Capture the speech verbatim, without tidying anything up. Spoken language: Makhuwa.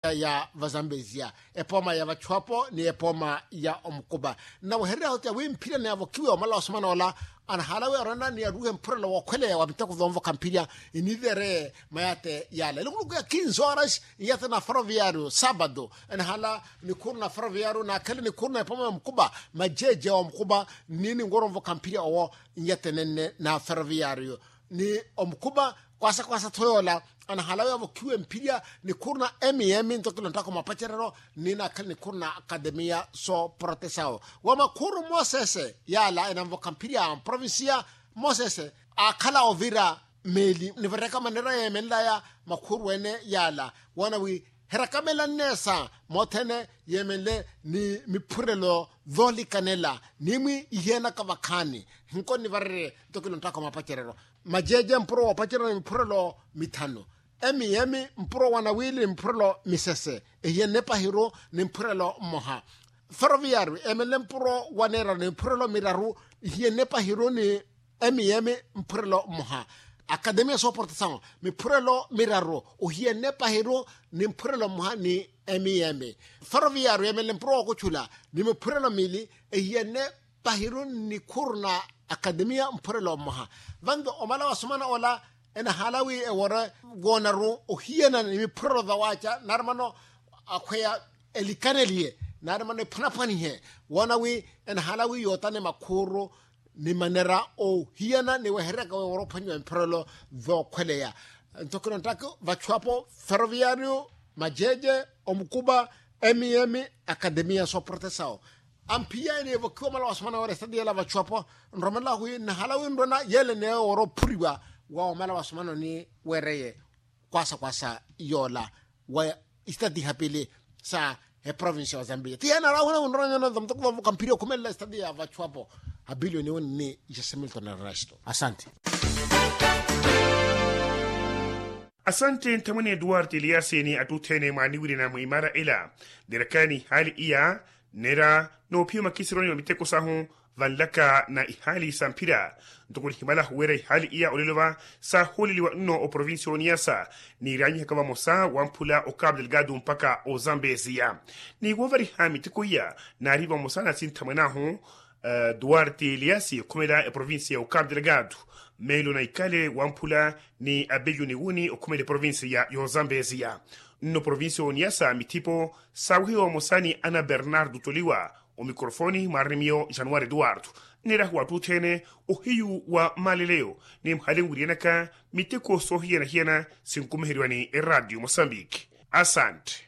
ya vazambezia, epooma ya vachuwapo ni epooma ya omukupa. Nnawehereryahu ti awimphirya ni avokiwe omala wa sumanoola, anahaala wi arona ni aruuhe mphurelo wookhweleya wa miteko thoonvokha mphirya. Iniivereye mayate yaala elukuluku ya kinze horas. Iyate na ferroviario saapatu enahaala nikhuuru na ferroviario naakhele nikhuuru na epooma ya omukupa, majeeje wa omukupa. Nniini nworonvokha mphirya owo iyate nenne na ferroviario ni omukupa. Kwaasa kwaasa tho yoola anahaala wi avokhiwe mphirya nikhuuru na mm ntokilonttaka mwapacerero. Nniina akhale nikhuuru na akatemiya sooporotesao wa makhuuru mosese yaala enanvokha mphirya a mprovincia. Mosese aakhala ovira meeli nivarekamane ra yeemenlaya makhuuru ene yaala woona wi herakamelanne sa mothene yeemenle ni miphurelo thoolikanela. Niimwi ihiyanaka vakhaani hinkonivarerye ntokilonttaka mwapacerero. Majeeje mpuro woopacerya ni miphurelo mithanu. Emiyemi mpuro wa nawiili ni miphurelo misese ehiyenne pahiru ni mphurelo mmoha. Feroviyaru emenle mpuro wa neeraru ni miphurelo miraru. Ehiyenne pahiru ni emiyemi mphurelo mmoha. Akatemiya sooportasawu miphurelo miraru ohiyenne pahiru ni mphurelo mmoha ni emiyemi. Feroviyaru emenle mpuro wookuchula ni miphurelo miili ehiyenne pahiru ni khuru na akatemiya mphurelo mmoha. Vanto omala wa sumana ola enahaala wi ewore woonaru ohiyana ni miphurelo vawaaca naari mano akhweya elikaneliye naari mano ephwanaphwanihe woona wi enahaala wi yootane makhuuru ni manera ohiyana ni weheryaka wi ewore ophwanyiwa miphurelo vookhweleya. Nto kinonttaka vachuwapo feroviyario majeje omukupa emiyemi akatemiya sooporotesao. Amphiya ene evokiwa omala wa sumana weera esitati yeela vachuwapo nromelela wi nnahala wi nrona yeele neyo woora ophuriwa wa omala wa sumana ni weereye kwaasa kwaasa yoola wa esitati ihapili sa eprovinsi ya ozambiya ti yeena araahuna wi nrona nyona muteko vavoka mphiri okhumelela esitati ya vachuwapo. Abilioni woni ni jasimilton erasto asante. Asante nthamwene eduwardo eliasi ni attutthene mwaaniwirina mwiimara ela. Nirakaani ihaali iya nera noophiya omakisironi wa miteko sahu vanlaka na ihaali sa mphira. Ntoko nihimala huwera ihaali iya olelo va saahuuleliwa nno oprovincia oniyasa niiraanyihaka vamosa wamphula okapu delgado mpaka ozambezia. Ni woovariha miteko iya naari vamosa na sinthamwene ahu duarte eliasi okhumela eprovincia ya okapu delgado. Meelo na ikale wamphula ni abelyo ni wuni okhumela eprovincia ya ozambezia. Nno provincia oniyasa mithipo saawihiwa vamosa ni ana bernardo toliwa omikrofoni mwaarimiyo januwari eduwardo. Nirahu wattuutthene ohiyu wa maaleleyo ni mhale nwiriyanaka miteko soohiyana-hiyana sinkumiheriwa ni eradio mosambiki. Asante.